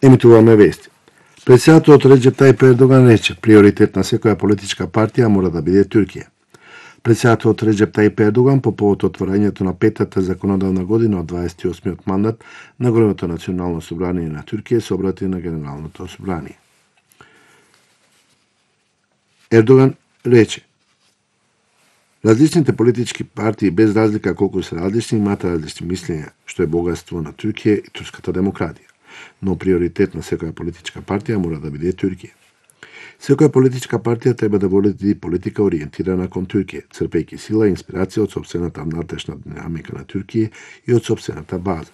Емитуваме вести. Председателот Реџеп Тајип Ердоган рече, приоритет на секоја политичка партија мора да биде Туркија. Председателот Реџеп Тајип Ердоган по повод отворањето на петата законодавна година од 28-тиот мандат на големото национално собрание на Туркија се обрати на Генералното собрание. Ердоган рече, различните политички партии, без разлика колку се различни, имаат различни мислења, што е богатство на Туркија и турската демократија. Но приоритет на секоја политичка партија мора да биде Туркија. Секоја политичка партија треба да води политика ориентирана кон Туркија, црпејќи сила и инспирација од сопствената внатрешна динамика на Туркија и од сопствената база.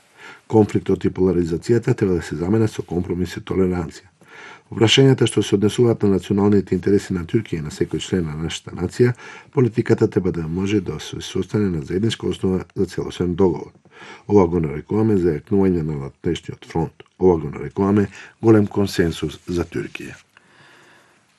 Конфликтот и поларизацијата треба да се заменат со компромис и толеранција. Прашањата што се однесуваат на националните интереси на Туркија и на секој член на нашата нација, политиката треба да може да се состане на заедничка основа за целосен договор. Ова го нарекуваме зајакнување на надпречниот фронт. Ова го нарекуваме голем консенсус за Туркија.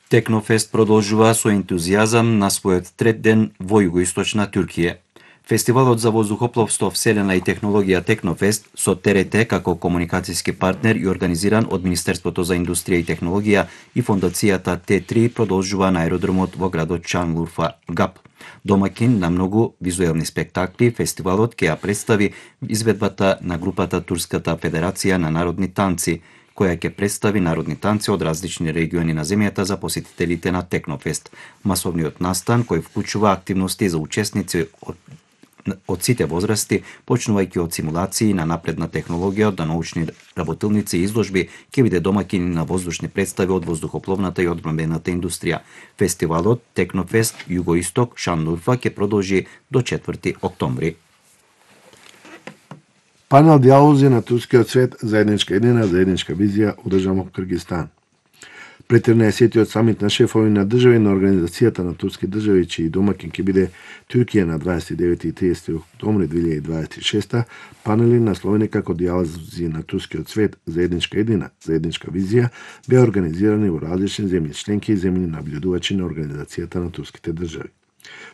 Технофест продолжува со ентузијазам на својот трет ден во југоисточна Туркија. Фестивалот за воздухопловство, вселена и технологија Технофест со ТРТ како комуникацијски партнер и организиран од Министерството за индустрија и технологија и фондацијата Т3 продолжува на аеродромот во градот Шанлурфа ГАП. Домакин на многу визуелни спектакли, фестивалот ќе ја представи изведбата на групата Турската федерација на народни танци, која ќе представи народни танци од различни региони на земјата за посетителите на Технофест. Масовниот настан, кој вклучува активности за учесници од сите возрасти, почнувајќи од симулации на напредна технологија до научни работилници и изложби, ќе биде домакин на воздушни представи од воздухопловната и одбранбената индустрија. Фестивалот Технофест Југоисток Шанлурфа ќе продолжи до 4 октомври. Панел дијалози на турскиот свет, заедничка идеја, заедничка визија, одржан во Киргизстан. Пред 13-тиот самит на шефови на држави на Организацијата на турски држави, чиј домакин ќе биде Туркија на 29 и 30 октомври 2026, панели насловени како дијалози на турскиот свет, заедничка идеја, заедничка визија, беа организирани во различни земји членки и земји наблюдувачи на Организацијата на турските држави.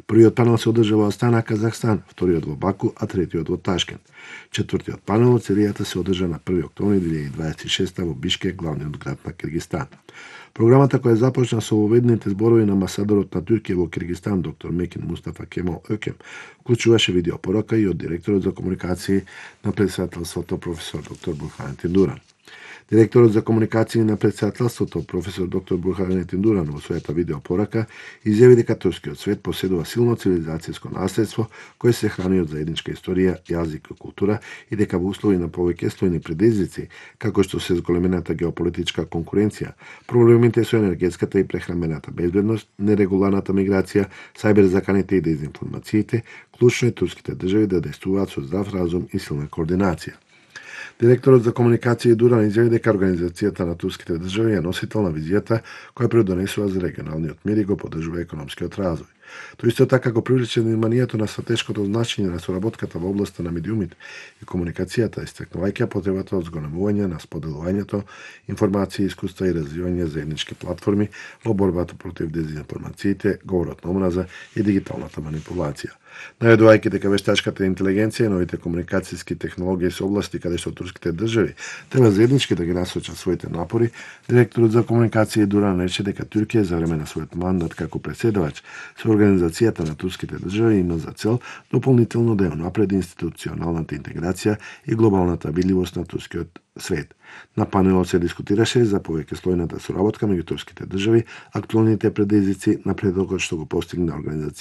Првиот панел се одржа во Астана, Казахстан, вториот во Баку, а третиот во Ташкент. Четвртиот панел од серијата се одржа на 1 октомври 2026 во Бишкек, главниот град на Киргизстан. Програмата која започна со воведните зборови на амбасадорот на Туркија во Киргизстан, доктор Мекин Мустафа Кемал Өкем, вклучуваше видеопорака и од директорот за комуникации на председателството професор доктор Бурханетин Дуран. Директорот за комуникации на председателството, професор доктор Бурханетин Дуран, во својата видеопорака изјави дека турскиот свет поседува силно цивилизацијско наследство кое се храни од заедничка историја, јазик и култура и дека во услови на повеќе слојни предизвици, како што се зголемената геополитичка конкуренција, проблемите со енергетската и прехранбената безбедност, нерегуларната миграција, сајберзаканите и дезинформациите, клучно е турските држави да действуваат со здрав разум и силна координација. Директорот за комуникација Дуран изјави дека Организацијата на турските држави е носител на визијата која предонесува за регионалниот мир и го поддржува економскиот развој. Тој исто така го привлече вниманието на стратешкото значење на соработката во областа на медиумите и комуникацијата, истакнувајќи потребата од зголемување на споделувањето информации, искуства и развивање заеднички платформи во борбата против дезинформациите, говорот на омраза и дигиталната манипулација. Наведувајќи дека вештачката интелигенција и новите комуникацијски технологии се области каде што турските држави треба заеднички да ги насочат своите напори, директорот за комуникација Дуран рече дека Туркија за време на својот мандат како претседавач со Организацијата на турските држави има за цел дополнително да ја унапреди институционалната интеграција и глобалната видливост на турскиот свет. На панелот се дискутираше за повеќе слојната соработка меѓу турските држави, актуелните предизвици, напредокот што го постигна Организацијата